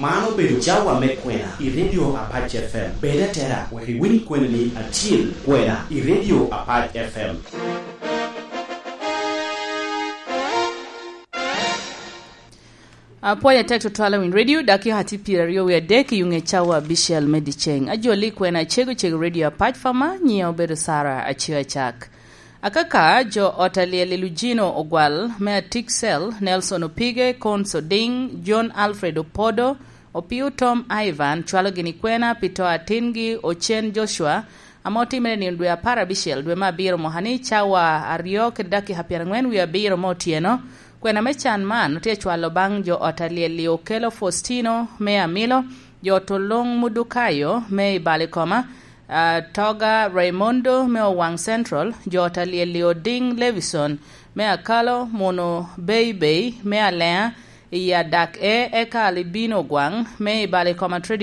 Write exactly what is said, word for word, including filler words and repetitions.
Man obedo cawa me kwena i Radio Apac F M. Bed atera wek iwiny kweni ni acil kwena i Radio Apac F M. Apwoyo atek tutwal awiny radio, dakika tye pyeraryo wie adek i ŋe cawa abicel me dyeceŋ. Ajoli kwena cego cego radio Apac Fama, nyiya obedo Sara Acio Acak. Akaka, jo ot alyel i Lujino Ogwal, me Atiksel, Nelson Opige, Cons Oding, John Alfred Opodo, Opio Tom Ivan, cwalo gini kwena pi to atingi Ocen Joshua, ame otimere nino dwe apar abicel dwe me abiro mwaka ni cawa aryo kede dakika pyerangwen wie abiro me otyeno. Kwena me can man otye acwalo baŋ jo ot alyel i Okelo Faustino me Amilo, jo ot Olung Mudukayo me i Balikoma, Atoga Raymondo me Owaŋ Central, jo ot alyel i Oding Levison me Akalo, Muno Beibei me Alea i Adak E, eka Libino Ogwaŋ me i Balikoma Trading